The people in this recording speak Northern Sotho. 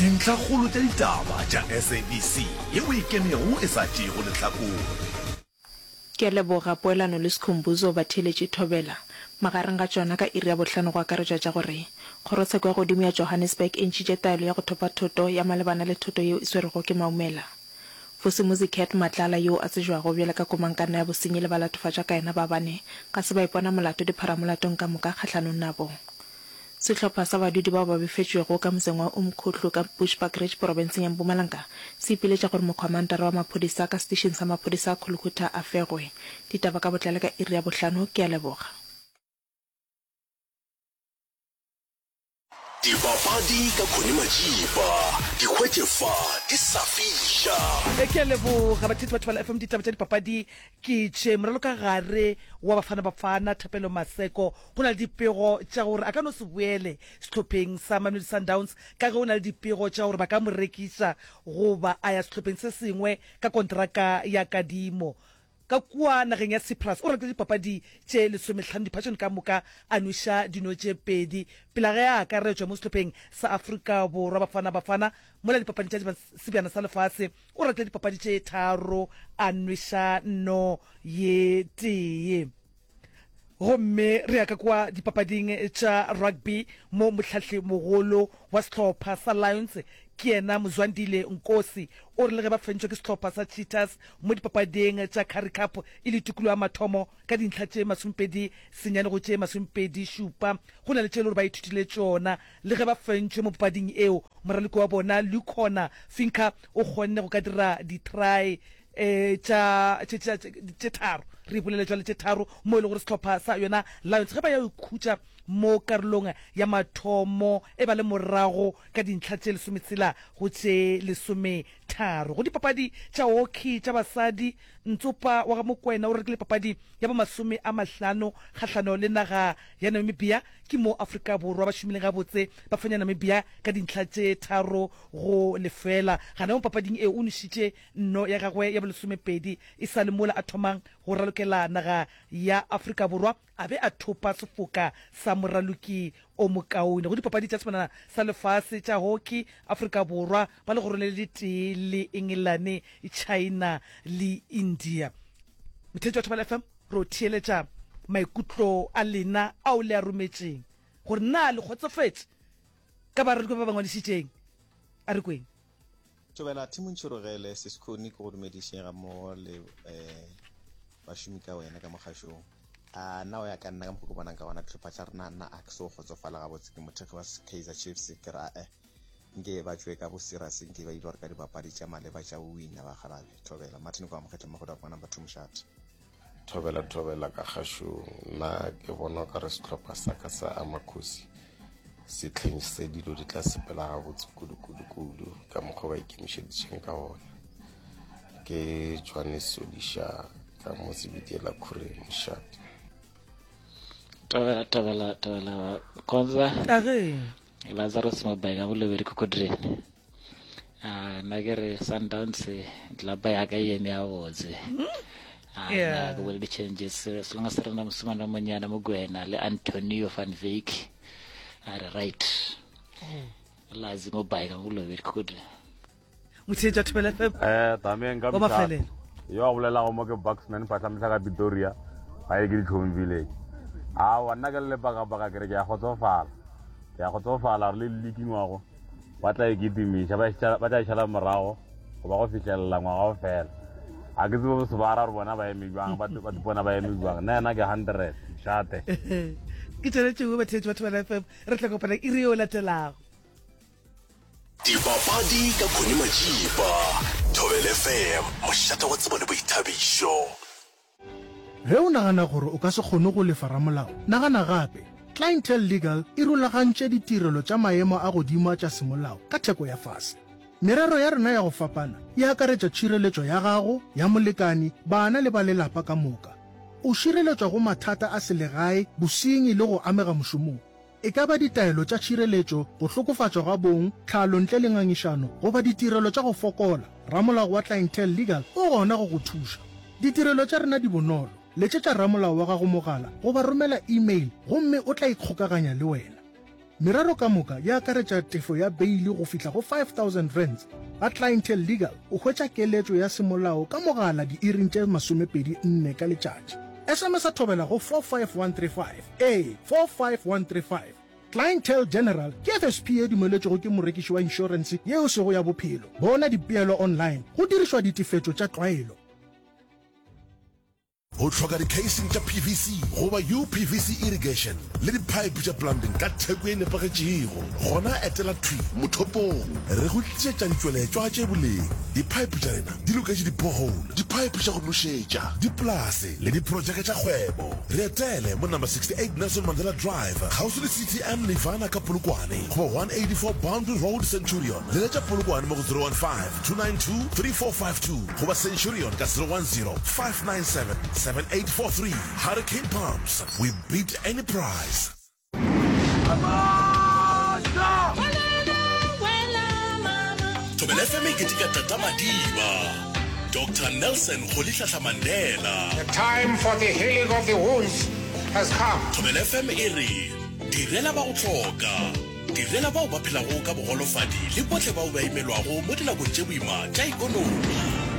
Dintlhakgolo tša ditaba tša SABC yeo e kemego e sa tšeego lehlakore. Ke a leboga Poelano le Skhumbuzo batheeletši Thobela. Magareng ga tšona ka iri ya bohlano go akaretšwa tša gore Kgorotsheko ya Godimo ya Johannesburg e ntšhitše taelo ya go thopa thoto ya malebana le thoto yeo e swerwego ke Maumela. Vusimuzi Cat Matlala yoo a tsejwago bjalo ka komangkanna ya bosenyi le balatofatšwa ka yena ba bane ga se ba ipona molato dipharamolatong ka moka kgahlanong nabo. Sehlopha sa badudi bao ba befetšwego ka motseng wa Umkhuhlu ka Bushbuckridge porobenseng ya Mpumalanga se ipiletša gore mokhwamantara wa maphodisa ka setišing sa maphodisa a Khulukhutha a fegwe. Ditaba ka botlalo ka iri ya bohlano. Ke a leboga. Dipapadi ka Connie Majiba, di hwetše fa di sa fiša. Ke a leboga batheetši ba Thobela FM. Ditaba tša dipapadi ke tše. Moralokagare wa Bafana Bafana, Thapelo Maseko, go na le dipego tša gore a ka no se boele sehlopheng sa Mamelodi Sundowns ka ge go na le dipego tša gore ba ka mo rekiša goba a ya sehlopheng se sengwe ka konteraka ya kadimo. Ka kua nageng ya Cyprus, o ratile dipapadi tše lesomehlano diphatšong ka moka, a nweša dino tše pedi pele ga ge a akaretšwa mo sehlopheng sa Afrika Borwa, Bafana Bafana, mola dipapading tša Sebjana sa Lefase, o ratile dipapadi tše tharo, a nweša no ye tee. Gomme re ya ka kua dipapading tša rugby mo mohlahli-mogolo wa sehlopha sa Lions ke yena Mzwandile Nkosi o re le ge ba fentšwe ke sehlopha sa Cheetahs mo dipapading tša Currie Cup e le tikologo ya mathomo ka dintlha tše 29 go tše 27 go na le tše e le gore ba ithutile tšona le ge ba fentšwe mo papading eo. Moraloki wa bona Lukhona Finca o kgonne go ka dira di-try tša, tše, tša, tše tharo, re ipolele jwale, tše tharo, mo e le gore sehlopha sa yona Lions ge ba ya go ikhutša mo karolong ya mathomo e ba le morago ka dintlha tše lesometshela go tše lesometharo. Go dipapadi tša hockey tša basadi, Ntsopa wa ga Mokwena o rekile papadi ya bo 50 kgahlano le naga ya Namibia. Ke mo Afrika Borwa ba šomileng gabotse ba fenya Namibia ka dintlha tše 3-0. Gana mo papading eo o nošitše Nno ya gagwe ya bolesomepedi e sa le mola a thomang go ralokela naga ya Afrika Borwa a be a thopa sefoka sa moraloki o mokaone go dipapadi tša Sebanana sa Lefase tša Hockey, Afrika Borwa ba legorong le letee le Engelane, China le India. Motheetši wa Thobela FM, re o theeletša maikutlo a lena ao le a rometšeng gore na le kgotsofetše ka baraloki ba ba ngwadišitšeng. A re kweng. Thobela Team Ntšhirogele Seskhoni ke go dumediše ga mmogo le eh, bašomi ka wena ka mogašong. A nna o ya ka nna ka mokgwa ke bonang ka gona dihlopha tša rena nna a ke so kgotsofala gabotse ke mothekgi wa Kaizer Chiefs ke ra eh nke ba tšwe ka bo serious nke ba ile gore ka dipapadi tša maleba tša go wina bakgalabe. Thobela Martin kwa Mokgetle Magoda kwa number 2 mošate. Thobela thobela ka kgašong nna ke bona o ka re sehlopha sa ka sa Amakhosi sehleng se dilo di tla sepela gabotse kudu kudu kudu ka mokgwa ba ikemišeditšeng ka gona ke Johannes Sodiša ka mo Sebitiela Khureng mošate. Tobela tobela tobela konza. Age. Lazarus Mabeka bolobedi kokodrene. Ah, nna ke re Sundowns club ya ka e eme gabotse. Ah, Yeah. nna ke bone di-changes as long as re na mosimane wa monyana Mokwena le Antonio van Wyk a re right. Lazi Mobike bolobedi kokodrene. Motheetši wa Thobela FM. Eh, Damien ka Wa mafelelo. Yo a bolelago mo ke Bucksman Phatlhamehla ka Pretoria, ga e ke Ditlhong Village. Aowa nna ke le lepakapaka ke re ke a kgotsofala. Ke a kgotsofala gore le league ngwago ba tla e kitimiša ba e ba tla e šala morago go ba go fihlelela ngwaga o fela. Ga ke tsebe bosebara gore bona ba eme jwang, ba ba ipona ba eme jwang. Nna yena ke 100, mošate. Ke tšona tšeo batheetši ba Thobela FM. Re tla kopana iri yeo latelago. Dipapadi ka Connie Majiba, Thobela FM, mošate wa tsebo le boithabišo. Ge o nagana gore o ka se kgone go lefa ramolao, nagana gape. Clientele Legal e rulagantše ditirelo tša maemo a godimo a tša semolao ka theko ya fase. Merero ya rena ya go fapana e akaretša tšhireletšo ya gago, ya molekani, bana le ba lelapa ka moka. O šireletšwa go mathata a selegae, bosenyi le go amega mošomong. E ka ba ditaelo tša tšhireletšo, go hlokofatšwa ga bong, tlhalo ntle le ngangišano, goba ditirelo tša go fokola, ramolao wa Clientele Legal o gona go go thuša. Ditirelo tša rena di bonolo, letšetša ramolao wa gago mogala goba romela email gomme o tla ikgokaganya le wena. Merero ka moka e akaretša tefo ya beili go fihla go R5000. Ga Clientele Legal o hwetša keletšo ya semolao ka mogala diiring tše 24 ka letšatši. SMS-a thobela go 45135, ee, 45135. Clientele General ke FSP ye dumeletšwego ke morekiši wa inšorense ye e sego ya bophelo. Bona dipeelo online go dirišwa ditefetšo tša tlwaelo. O hloka di-casing tša PVC goba UPVC irrigation le di-pipe tša plumbing ka theko ye nepagetšego? Gona etela thwi mothopong. Re go tlišetša ditšweletšwa tše boleng. Di-pipe tša rena di loketše di-borehole, di-pipe tša go nošetša, dipolase le diprojeke tša kgwebo. Re etele mo number 68 Nelson Mandela Drive, kgauswi le CTM Nirvana ka Polokwane goba 184 Boundary Road, Centurion. Leletša Polokwane mo go 015 292 3452. Goba Centurion ka 010 597 7843. Hurricane Pumps, we beat any price. Thobela FM e keteka Tata Madiba, Doctor Nelson Rolihlahla Mandela. The time for the healing of the wounds has come. Thobela FM e re direla ba go hloka. Direla bao ba phelago ka bogolofadi le bohle bao ba imelwago mo dinakong tše boima tša ekonomi.